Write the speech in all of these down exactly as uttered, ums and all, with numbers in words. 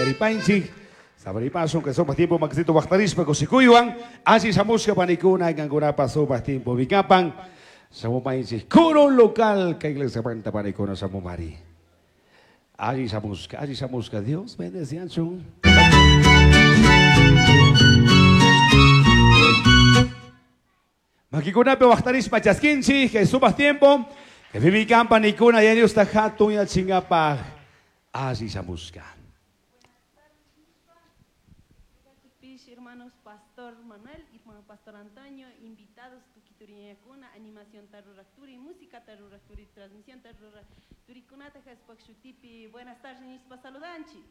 Uyaripanchik. Sabaripasun que sumaq tiempo makisito waqtarishpa kushikuywan. Alli shamushka panikuna kankunapa sumaq tiempo vikapan. Shamupanchik coro local kay iglesia manta panikuna shamumari. Alli shamushka, alli shamushka. Dios bendecianchun. Makikunapi waqtarishpa chaskinchik kay sumaq tiempo. Que vivikan panikuna ya Dios ta hatun yachingapaj. Alli shamushka. Hermanos Pastor Manuel y Pastor Antonio, invitados tukituriñakuna, animación taruracturi, música taruracturi, transmisión taruracturi, kunata shutipi. Buenas tardes, nispa saludanchi.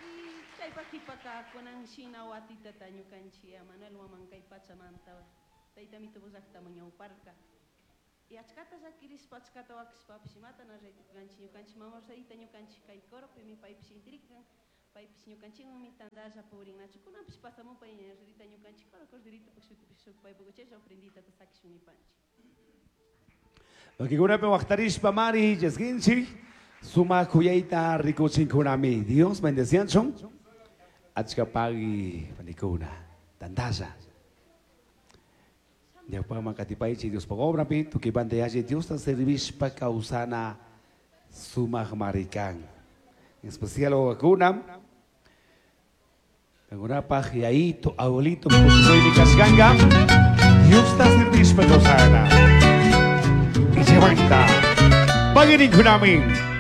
Y chaypakipaka kunan shina watitata ñukanchi Manuel Huaman kay pachamanta tayta mitubullaqta ñawparka. Y achkata llakirishpa achkata wakishpapish imata na raytukanchi ñukanchi mama Rosarita ñukanchi kay coropi mi paypish intirikan paypish ñukanchikwanmi tantalla purinnachu kunanpish pasamupa ña ñukanchik coro corderito shutipi shuk paypak uchilla ofrendita sakishun nipanchik. Makikunapi waqtarishpa mari chaskinchik. Sumaq kuyayta rikuchinkunami. Dios bendecianchun. Achka pagui panikuna. Tantalla. Ñawpaman katipaychi Dios obrapi tukipanta yachi Diosta servishpa kawsana sumaq marikan. En especial wawakuna. Kankunapaj yayito, abuelito, kushikuymi kashkanka. Diosta servishpa kawsana. Y levanta. Pagirinkunami.